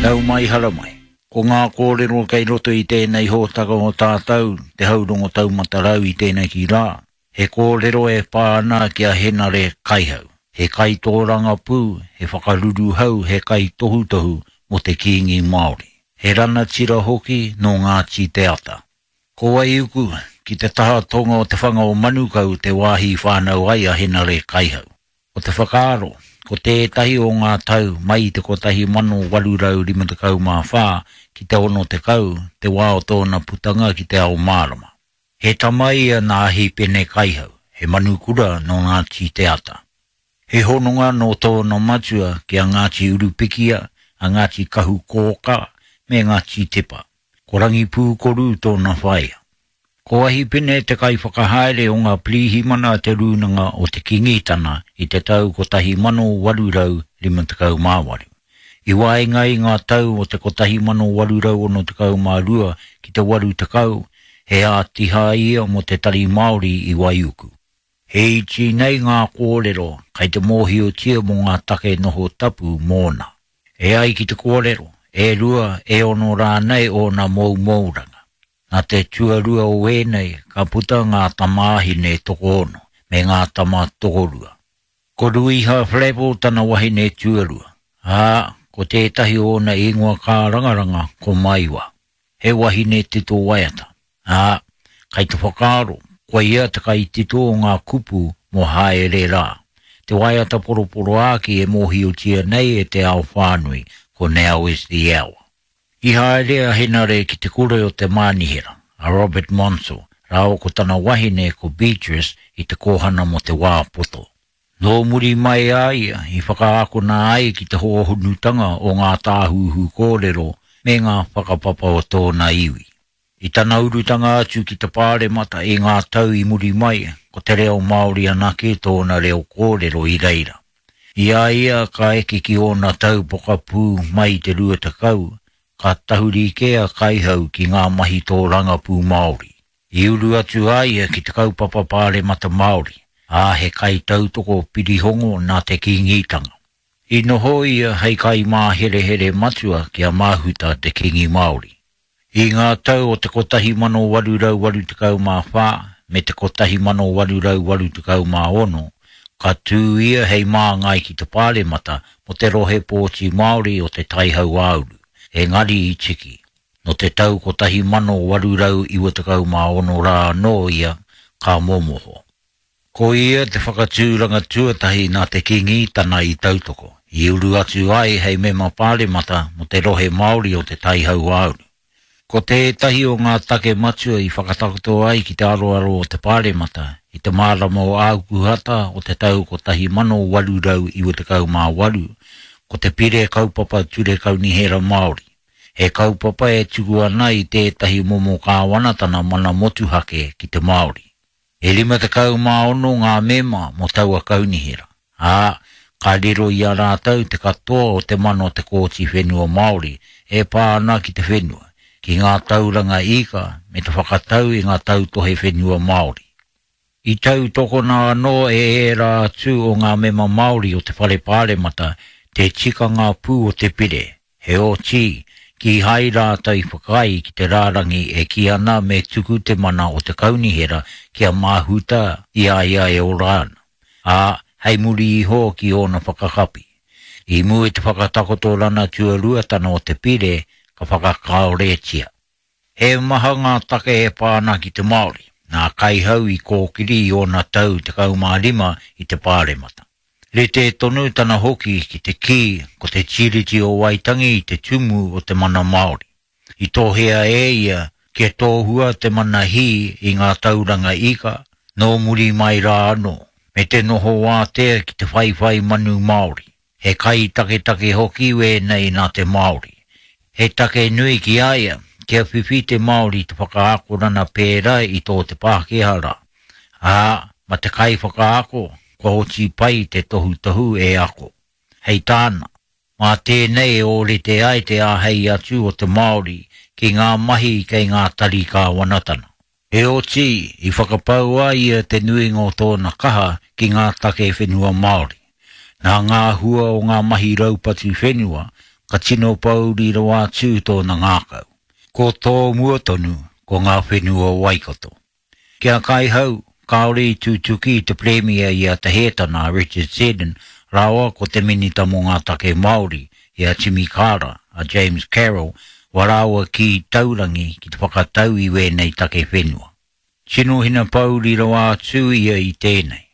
Nau mai haramai. Ko ngā kōrero kei roto i tēnei hōtaka o tātou, Te Haurongo Taumata Rau i tēneki rā, he kōrero e pā ana ki a Henare Kaihau. He kaitōrangapū, he whakaruruhau, he kaitohutohu mō te Kīngi Māori. He ranatira hoki nō Ngāti Te Ata. Ko Waiuku, ki te taha tonga o te whanga o Manukau te wāhi i whānau ai a Henare Kaihau. Ko te whakaaro, ko tētahi o ngā tau mai i te 1854 ki te 60 te wā o tōna putanga ki te ao mārama. He tama ia nā Hīpene Kaihau, he manukura nō Ngāti Te Ata. He hononga nō tōna matua ki a Ngāti Urupikia, a Ngāti Kahukōkā me Ngāti Tepa. Ko Rangipūkoru tōna whaea. Ko Ahipene te kaiwhakahaere o ngā pirihimana a te Rūnanga o te Kīngitana i te tau 1858. I waenga i ngā tau o te 1862 ki te 80, he ātiha ia mō te Tari Māori i Waiuku. He iti nei ngā kōrero kei te mōhiotia mō ngā take noho tapu mōna. E ai ki te kōrero, e rua, e ono rānei ōna moumouranga. Nā te tuarua o ēnei ka puta ngā tamāhine tokoono me ngā tama tokorua. Ko Ruiha Flavell tana wahine tuarua, ā, ko tētahi o ōna ingoa kārangaranga ko Maiwa. He wahine tito waiata, ā, kai te whakaaro koia te kaitito o ngā kupu mō Haere Rā, te waiata poroporoāki e mōhiotia nei e te ao whānui ko Now Is The Hour. I haere a Henare ki te kura o te mānihera, a Robert Monsell, rāua ko tana wahine ko Beatrice i te kōhana mō te wā poto. Nō muri mai a ia i whakaakona ai ki te hōhonutanga o ngā tāhuhu kōrero me ngā whakapapa o tōna iwi. I tana urutanga atu ki te Pāremata i ngā tau i muri mai, ko te reo Māori anake tōna reo kōrero i reira. I a ia ka eke ki ōna tau pokapū mai i te 20, ka tahuri kē a Kaihau ki ngā mahi tōrangapū Māori. I uru atu a ia ki te kaupapa Pāremata Māori, ā, he kaitautoko pirihongo nā te Kīngitanga. I noho ia hei kaimāherehere matua ki a Mahuta te Kīngi Māori. I ngā tau o te 1884 me te 1886, ka tū ia hei māngai ki te Pāremata mō te rohe pōti Māori o Te Tai Hauāuru, engari i tiki. Nō te tau 1896 rā anō ia ka momoho. Ko ia te whakatūranga tuatahi nā te Kīngitana i tautoko, i uru atu ai hei mema pāremata mō te rohe Māori o Te Tai Hauāuru. Ko tētahi o ngā take matua i whakatakoto ai ki te aroaro o te Pāremata i te marama o Ākuhata o te tau 1898, ko te Pire Kaupapa Ture Kaunihera Māori, he kaupapa e tuku ana i tētahi momo kāwanatana mana motuhake ki te Māori. E 56 ngā mema mō taua kaunihera, ā, ka riro i a rātou te katoa o te mana o te Kōti Whenua Māori e pā ana ki te whenua, ki ngā tauranga ika me te whakatau i ngā tautohe whenua Māori. I tautokona anō e ērā atu o ngā mema Māori o te Whare Pāremata te tikanga pū o te pire, Heoti, kīhai rātou i whakaae ki te rārangi e kī ana me tuku te mana o te kaunihera kia māhuta i a ia e ora ana, ā, hei muri iho ki ōna whakakapi. I mua i te whakatakotorana tuaruatana o te pire, ka whakakāoretia. He maha ngā take e pā ana ki te Māori, nā Kaihau i kōkiri i ōna tau 15 i te Pāremata. Rite tonu tana hoki ki te kī ko te Tiriti o Waitangi te tumu o te mana Māori. I tohea e ia kia tohua te mana hī i ngā tauranga ika nō muri mai rā anō, me te noho wātea ki te whaiwhai manu Māori. He kai taketake hoki wēnei nā te Māori. He take nui ki a ia kia whiwhi te Māori i te whakaakorana pērā i tō te Pākehā rā, ā, ma te kaiwhakaako kua oti pai te tohutohu e ako. Hei tāna, mā tēnei e ōrite ai te āhei atu o te Māori ki ngā mahi kei ngā tari kāwanatana. Heoti, i whakapau a ia te nuinga o tōna kaha ki ngā take whenua Māori. Nā ngā hua o ngā mahi raupatu whenua, ka tino pōuri rawa atu tōna ngākau. Ko tō mua tonu, ko ngā whenua o Waikato. Ki a Kaihau, kāore i tutuki i te Pirimia i a Te Hētana a Richard Seddon rāua ko te Minita mō ngā Take Māori i a Timi Kara, a James Carroll, wā rāua kī taurangi ki te whakatau i wēnei take whenua. Tino hinapōuri rawa atu ia i tēnei,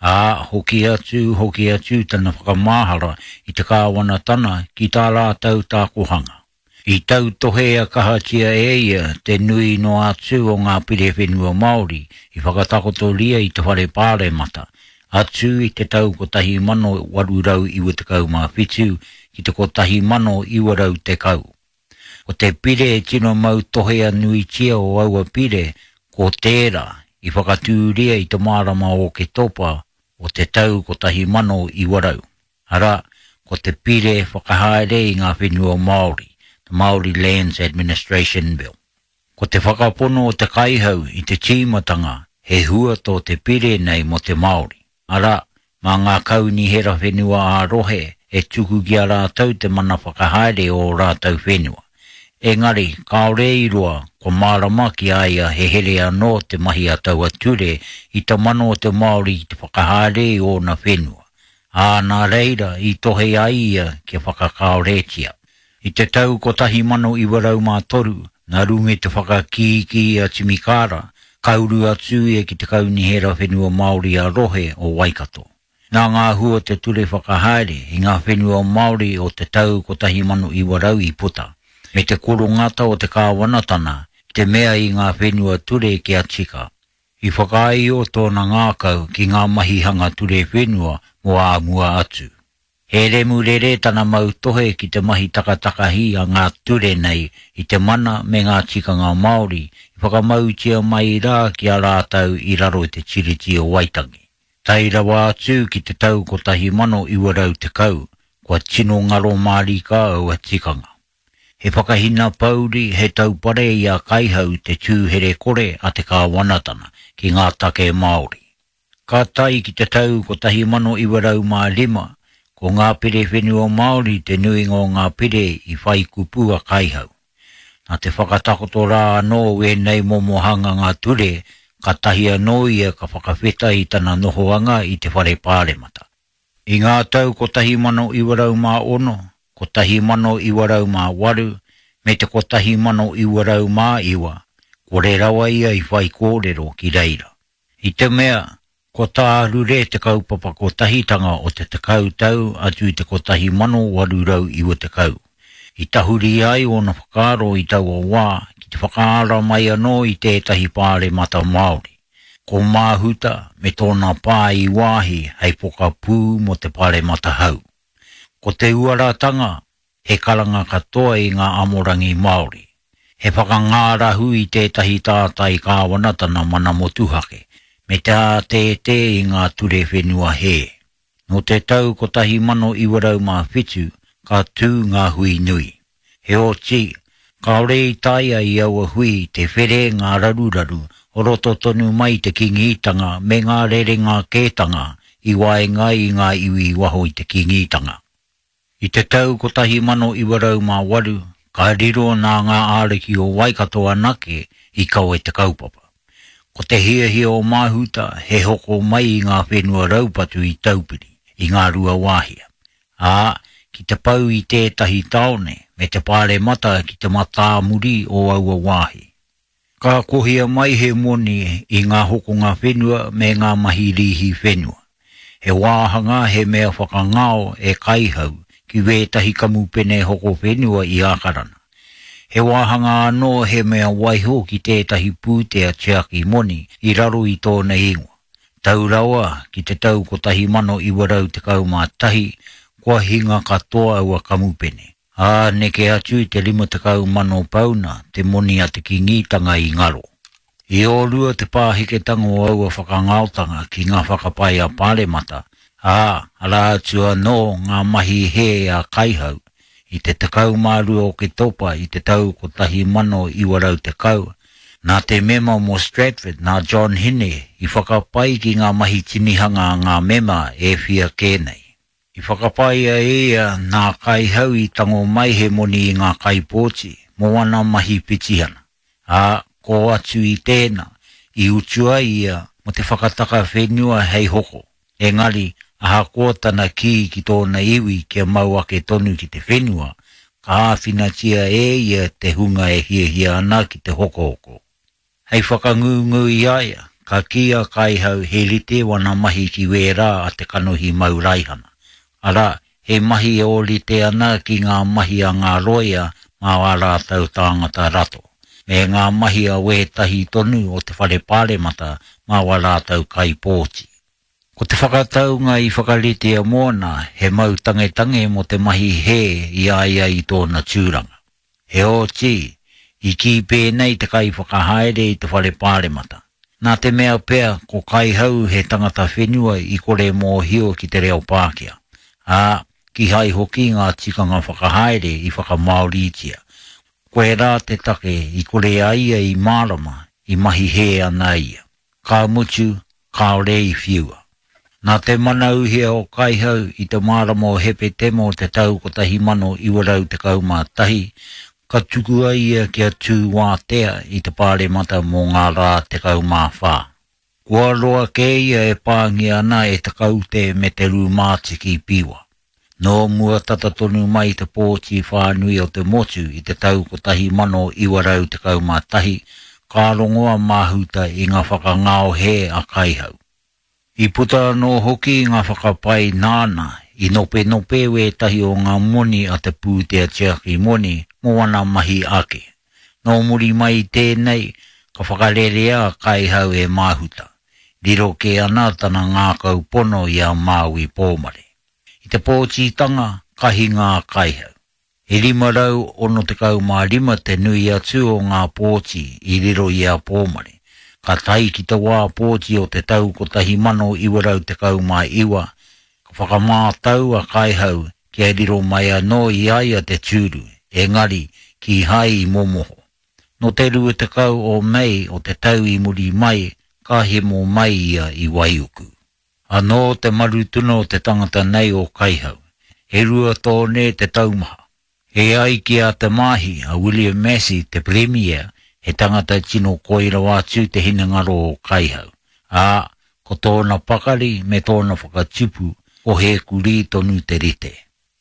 ā, hoki atu, hoki atu tana whakamahara i te kāwanatana ki tā rātou tākohanga. I tautohea kahatia e ia te nui noa atu o ngā pire whenua Māori i whakatakotoria i te Whare Pāremata, atu i te tau 1897 ki te 1910. Ko te pire e tino mautohea nuitia o aua pire ko tērā i whakatūria i te marama o Oketopa o te tau 1900. Arā, ko te Pire Whakahaere i ngā Whenua Māori, The Māori Lands Administration Bill. Ko te whakapono o te kaihau i te tīmatanga he hua tō te pire nei mō te Māori, arā, mā ngā kaunihera whenua ā-rohe e tuku ki a rātou te mana whakahaere o ō rātou whenua. Engari, kāore i roa, kua mārama ki a ia he here anō te mahi a taua ture i te mana o te Māori ki te whakahaere i ōna whenua, ā, nā reira i tohe ai ia kia whakakāoretia. I te tau 1903, nā runga i te whakakīkī a Timi Kara, ka uru atu ia ki te Kaunihera Whenua Māori ā-Rohe o Waikato. Nā ngā hua o te ture whakahaere i ngā whenua Māori o te tau 1900 i puta, me te korongata o te kāwanatana ki te mea i ngā whenua ture kia tika. I whakaāio tōna ngākau ki ngā mahi hanga ture whenua mō ā mua atu. He remurere tana mautohe ki te mahi takatakahi a ngā ture nei i te mana me ngā tikanga Māori i whakamautia mai rā ki a rātou i raro i te Tiriti o Waitangi. Tae rawa atu ki te tau 1910, kua tino ngaro mārika aua tikanga. He whakahinapouri, he taupare i a Kaihau te tū here-kore a te kāwanatana ki ngā take Māori. Ka tae ki te tau 1905, ko ngā pire whenua Māori te nuinga o ngā pire i whai kupu a Kaihau. Nā te whakatakoto rā anō o ēnei momo hanganga ture, kātahi anō ia ka whakawheta i tana nohoanga i te Whare Pāremata. I ngā tau 1906, 1908 me te 1909, kore rawa ia i whaikōrero ki reira. I te mea, kua tārure te kaupapa kotahitanga o te tekau tau atu i te 1890. I tahuri ai ōna whakaaro i taua wā ki te whakaara mai anō i tētahi pāremata Māori. Ko Māhuta me tōna pā i Waahi hei pokapū mō te paremata hau. Ko te uaratanga, he karanga katoa i ngā amorangi Māori. He whakangārahu i tētahi tātai kāwanatana mana motuhake, me te ātētē i ngā ture whenua hē. Nō te tau 1907 ka tū ngā hui nui. Heoti, kāore i taea i aua hui te where ngā raruraru o roto tonu mai i te Kīngitanga me ngā rerenga kētanga i waenga i ngā iwi i waho i te Kīngitanga. I te tau 1908, ka riro nā ngā āriki o Waikato anake i kawe te kaupapa. Ko te hiahia o Mahuta he hoko mai i ngā whenua raupatu i Taupiri, i Ngāruawāhia, ā, ki te pau i tētahi tāone me te paremata ki te matāmuri o aua wāhi. Ka kohia mai he moni i ngā hokonga whenua me ngā mahi rīhi whenua. He wāhanga he mea whakangao e Kaihau ki wētahi kamupene hoko whenua i Ākarana. He wāhanga anō he mea waiho ki tētahi pūtea tiaki moni i raro i tōna ingoa. Tau rawa ki te tau 1911 kua hinga katoa aua kamupene. Ā, neke atu i te 50,000 pauna te moni a te Kīngitanga i ngaro. I ōrua te pāheketanga o aua whakangaotanga ki ngā whakapae a Pāremata, ā, arā atu anō ngā mahi hē a Kaihau, i te 12 Oketopa i te tau 1910, nā te mema mō Stratford, nā John Hine, i whakapae ki ngā mahi tinihanga a ngā mema e whia kē nei. I whakapaea e ia nā Kaihau i tango mai he moni i ngā kaipōti mō ana mahi petihana, ā, kō atu i tēnā, i utua ia mō te whakataka whenua hei hoko, engari ahakoa tana kī ki tōna iwi kia mau ake tonu ki te whenua, ka āwhinatia e ia te hunga e hiahia ana ki te hokohoko. Hei whakangungu i a ia, ka kī a Kaihau he rite wana mahi ki wērā a te kanohi mau raihana, arā, he mahi e ōrite ana ki ngā mahi a ngā rōia mā ā rātou tāngata rato, me ngā mahi a wētahi tonu o te Whare Pāremata mā wā rātou kaipōti. Ko te whakataunga i whakaritea mōna he mau tangetange mō te mahi hē i a ia i tōna tūranga. Heoti, i kī pēnei te kaiwhakahaere i te whare pāremata, nā te mea pea ko Kaihau he tangata whenua i kore mōhio ki te reo Pākehā, ā, kīhai hoki ngā tikanga whakahaere i whakamāoritia. Koirā te take i kore a ia i mārama i mahi hē ana ia. Ka mutu, kāore i whiua. Nā te mana uhia o Kaihau i te marama o Hepetema o te tau 1911, ka tukua ia kia tū wātea i te Pāremata mō ngā rā 14. Kua roa kē ia e pāngia ana e te kaute me te rūmātiki piwa. Nō mua tata tonu mai te pōti whānui o te motu i te tau 1911, ka rongo a Mahuta i ngā whakangao hē a Kaihau. I puta anō hoki ngā whakapae nāna i nopenope wētahi o ngā moni a te pūtea tiaki moni mō ana mahi ake. Nō muri mai i tēnei, ka whakarerea a Kaihau e Mahuta. Riro kē ana tana ngākau pono i a Māui Pōmare. I te pōtitanga, ka hinga a Kaihau. E 565 te nui atu o ngā pōti i riro i a Pōmare. Ka tae ki te wā pōti o te tau 1919, ka whakamātau a Kaihau kia riro mai anō i a ia te tūru, engari, kīhai i momoho. Nō te 20 o Mei o te tau i muri mai, ka hemo mai ia i Waiuku. Anō te marutuna o te tangata nei o Kaihau. E rua tōne te taumaha. E ai ki a Te Maahi, a William Massey, te Pirimia, he tangata tino koi rawa atu te hinengaro o Kaihau, ā, ko tōna pakari me tōna whakatipu, ko he kurī tonu te rite.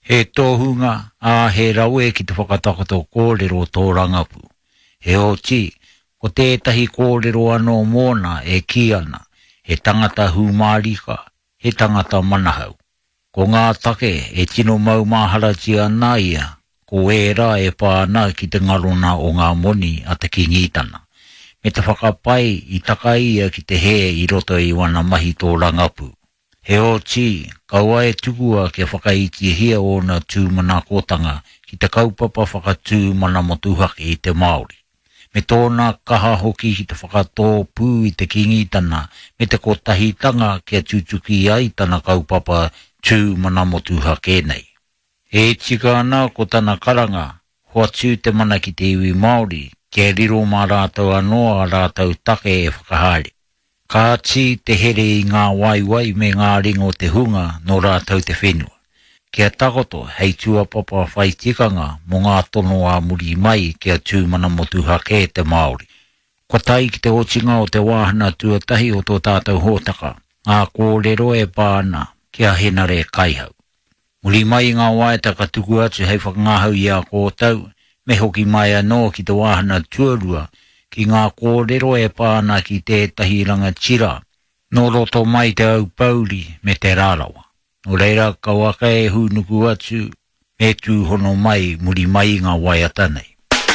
He tohunga, ā, he rawe ki te whakatakoto kōrero tōrangapū. Heoti, ko tētahi kōrero anō mōna e kī ana, he tangata hūmārika, he tangata manahau. Ko ngā take e tino maumaharatia ana ia, ko ērā e pā ana ki te ngarona o ngā moni a te Kīngitana, me te whakapae i taka ia ki te hē i roto i wana mahi tōrangapū. Heoti, kaua e tukua kia whakaitihia ōna tūmanakotanga ki te kaupapa whakatū mana motuhake i te Māori, me tōna kaha hoki ki te whakatōpū i te Kīngitana me te Kotahitanga kia tutuki ai tana kaupapa tū mana motuhake nei. E tika ana ko tana karanga, hoatu te mana ki te iwi Māori, kia riro mā rātou anō ā rātou take e whakahaere. Kāti te here i ngā waewae me ngā ringa o te hunga nō rātou te whenua. Kia takoto hei tūapapa whai tikanga mō ngā tono ā muri mai kia tū mana motuhake te Māori. Kua tae ki te otinga o te wāhana tuatahi o tō tātou hōtaka, ngā kōrero e pā ana ki a Henare Kaihau. Muri mai i ngā waiata ka tuku atu hei whakangahau i a kōtou, me hoki mai anō ki te wāhana tuarua, ki ngā kōrero e pā ana ki tētahi rangatira nō roto mai Te Aupōuri me Te Rarawa. Nō reira, kauaka e hūnuku atu, me tūhono mai muri mai i ngā waiata nei.